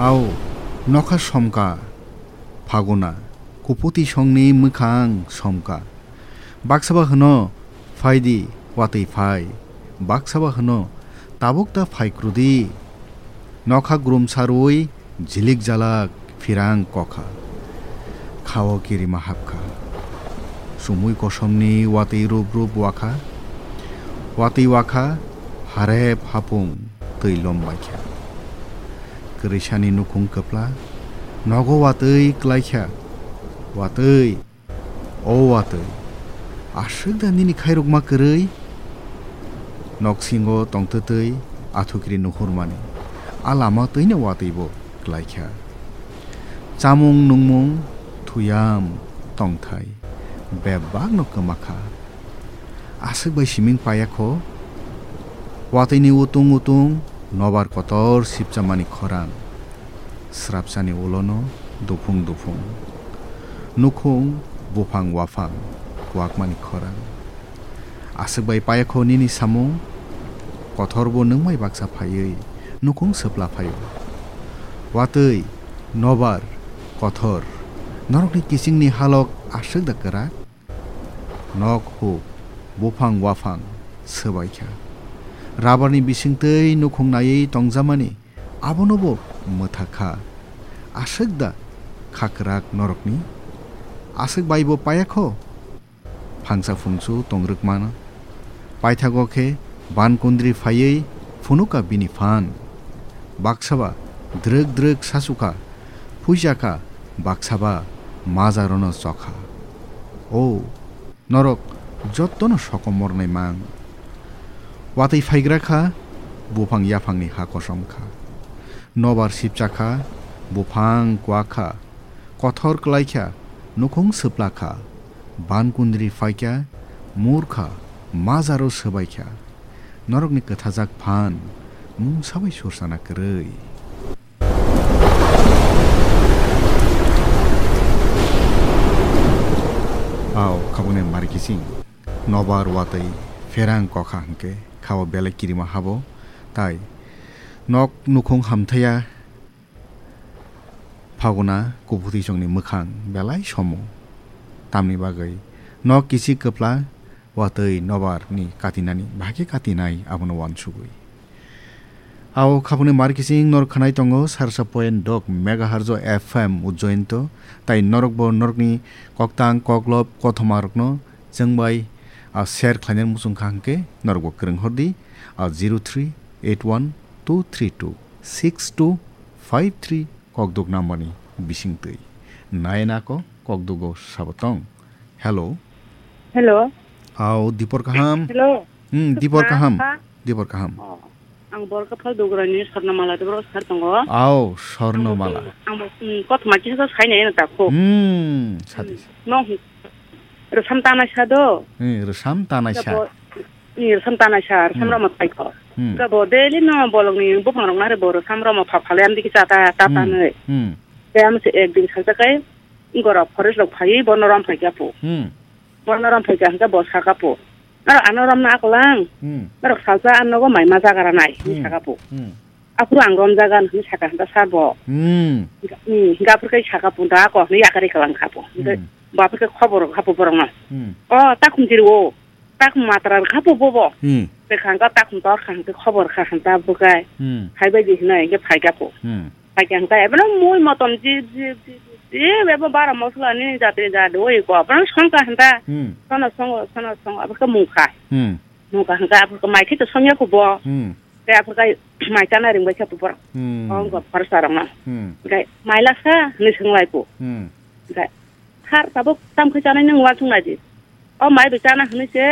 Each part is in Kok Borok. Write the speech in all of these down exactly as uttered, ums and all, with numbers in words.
Au, nokha somka, Phaguna, kuphuti songni mwkhang somka. Baksaba hwno, "Phaidi, watwi phai." Baksaba hwno, "Tabuk ta phai kwrwdi." Nokha grum sarwi, jilik jalak, phirang kokha. Khao kirima hapkha. Sumui kosomni watwi rup rup wakha. Watwi wakha, harep hapung, twi lom baikha. Kwrwisani nukhung kwpla, nogo watwi klaikha. Watwi, o watwi, aswk da nini khairokma kwrwi? Noksingo tongtwtwi athukiri nuhurmani, a lama twino watwibo klaikha. Chamung nungmung, thuyam, tongthai, bebakno kwmakha. Aswk bai siming payakho, watwini utung utung nobar kotor sipchamani khorang. Srapsani ulono duphung duphung. Nukhung, buphang waphang, kwakmani khorang. Aswk bai payakho nini samung, kothorbo nwngmai baksa phaiwi nukhung swpla phaio. Watwi, nobar, kothor, norokni kichingni halok aswk da kwrak? Nok huk, buphang waphang swbaikha. Rabarni bisingtwi nukhung naiwi tongjamani abonobo mwthakha. Aswk da kha kwrak norokni? Aswk baibo payakho? Phangsa phungsu tongrwkmano. Paithago khe bankundri phaiwi phunukha bini phan. Baksaba drwk drwk sasukha, phuijakha, baksaba majarono chokha. O, norok jottono sokomornai mang. Watwi phaigra kha, buphang yaphangni ha kosom kha. Nobar sipcha kha, buphang kwak kha, kothor klai kha, nukhung swpla kha, bankundri phai kha, mur kha, majaro swbai kha. Norokni kwthajak phan mungsa bai sursana kwrwi. Ao khabangni mari kiching nobar watwi pherang kokha hwnkhe khao belai kirima habo, tai nok nukhung hamthaya. Phaguna kuphutwi chongni mwkhang belai somo. Tamni bagwi nok kichik kwpla watwi nobar ni katinani bahai khe katinai abono uansugwi. Ao khapangni mar kiching norok khwnai tongo sarsa point dok megahertz o F M Ujjainto, tai norokbo norokni koktang koklop kothomarokno chwng bai, a, share khlainani muchung kha hwnkhe norokbo kwrwng hordi, a, zero three eight one two three two six two five three kokduk number ni bisingtwi. Naina ko kokdugo sabo tong. Hello. Hello. Ao, dipor kaham? Hello. Hmm, dipor kaham? Dipor kaham. Oh, ang Borkaphal Dograni Swarnamala Debra sar tongo. Ao, Swarnamala. Ang bo, hmm, kothoma kisa sai nai na ta kho. Hmm, sadi. No, rwsam tanai sa do. Hmm, rwsam tanai sa. Ni rwsam tanai sa, rwsam rwma phai kho. Hmm. Ga bo daily no bolong ni buphang rok nare bo rwsam rwma pha phale amdi kisa ta, ta panai. Hmm. Te am se ek din salsa kai, gorok forest rok phai, bo norom phai kya po. Hmm. Bo norom phai kya hwnkhe bo saka po. Norok ano romna akolang. Hmm. Norok salsa ano go mai ma jaga ranai, hmm, saka po. Hmm. Aphuru ang romjagan hwnwi saka hwnta sabo. Hmm. Hmm, hwnkhe aphuru khe saka punta ako hwnwi yakari kalang kha bo. Hwnkhe, hmm, bo aphuru khe khobor rwkha bo borokno. Hmm. O, takhum tiri o. Takhum matra rwkha bo bobo. Hmm. Tei kha hwnkhe takhum tor kha hwnkhe khobor kha hwnta aphuru khe. Hmm. Phaibai di hwnwi hwnkhe phaikha bo. Hmm. Phaikha hwnkhe ebono mui motom ji, ji, ji, ji, ebo bara mosla ni jatri jat oi ko. Ebono songkha hwnta. Hmm. Sono songo, sono songo, aphuru khe mungkha. Hmm. Mungkha hwnkhe aphuru khe mai khe to songya kho bo. Hmm. Tei aphuru khe mai chana ringbai khe borok. Hmm. Ongkha phorsa rokno. Hmm. Hwnkhe mai lakha hwnwi swng lai kho. Hmm. Hwnkhe, "Sir, tabuk tamo khe chanai nung uansuk nai di." "O mai bai chana hwnwi se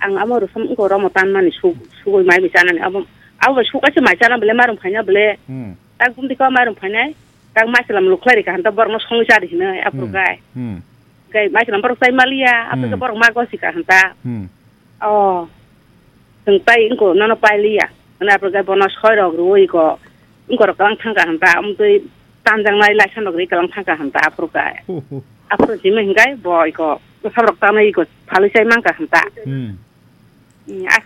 ang amo rwsam wngkha romo tanmani su-, sugui mai bai chanani." Abo, abo bai sukha se mai chana bole, mairum phaina bole. Hmm. Tak bumdi khe mairum phainai, tak maisalam lukhlai rikha hanta borokno songwi cha di hwnwi aphuru khe. Hmm. Hwnkhe maisalam borok chai maliya, aphuru khe, hmm, borok ma gosi kha hanta. Hmm. O, chwng tai wngkha nono pailiya. Hwnwi aphuru khe bono soi rok rwui kho. Wngkha rok kalang thangkha hwnta, amtwi tanjaknai laisa nok ri kalang thangkha hwnta aphuru khe. Aphuru simi hwnkhe bo iko bwsa rok tanwi iko phalwi chai mankha hwnta. Hmm. Hmm, a